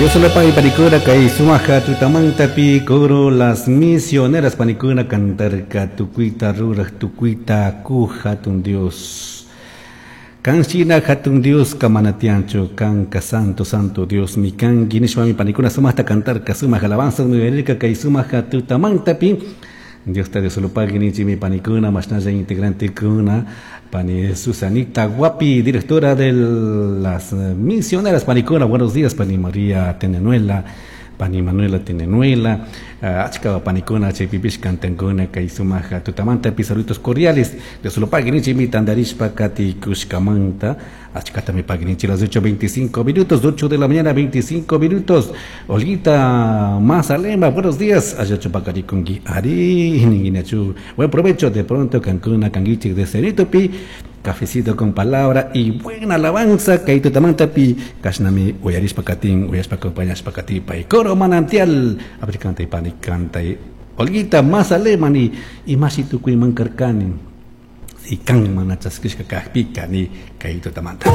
Dios lupagui panicuna kay sumaja tutamantapi coro las misioneras panicuna cantarka tukuita ruraj tukuita kuj hatun Dios. Kan shina hatun Diosca mana tiyanchu, kanka santo santo Diosmi kanki nishpami panicuna sumajta cantarka sumaj alabanzas uyarirka kay sumaja tutamantapi. Diosta Dios lupagui ninchikmi panicuna mashnalla integrantekuna pani Susanita Guapi, directora de las misioneras panicuna, buenos días pani María Tenenuela, pani Manuela Tenenuela, achka panicuna chaypipish cantankuna kay sumaja tutamantapi saludos cordiales. Dios lupagui ninchikmi tandarishpa katikushkamanta achkatami pagui ninchik las 8:25 minutos, 8 de la mañana 25 minutos. Olguita Mazalema, buenos días. Allachu paqarikunki ari ninguinachu. Buen provecho de pronto kankuna kankichik de Ceritopi. Cafecito con palabra y buena alabanza kay tutamantapi kashnami uyarishpa katin uyashpa acompañashpa katipay coro manantial apricantay pani cantay Olguita Mazalema ni imashi tukuyman karkani si kan mana chaskishka kajpika ni kay tutamanta.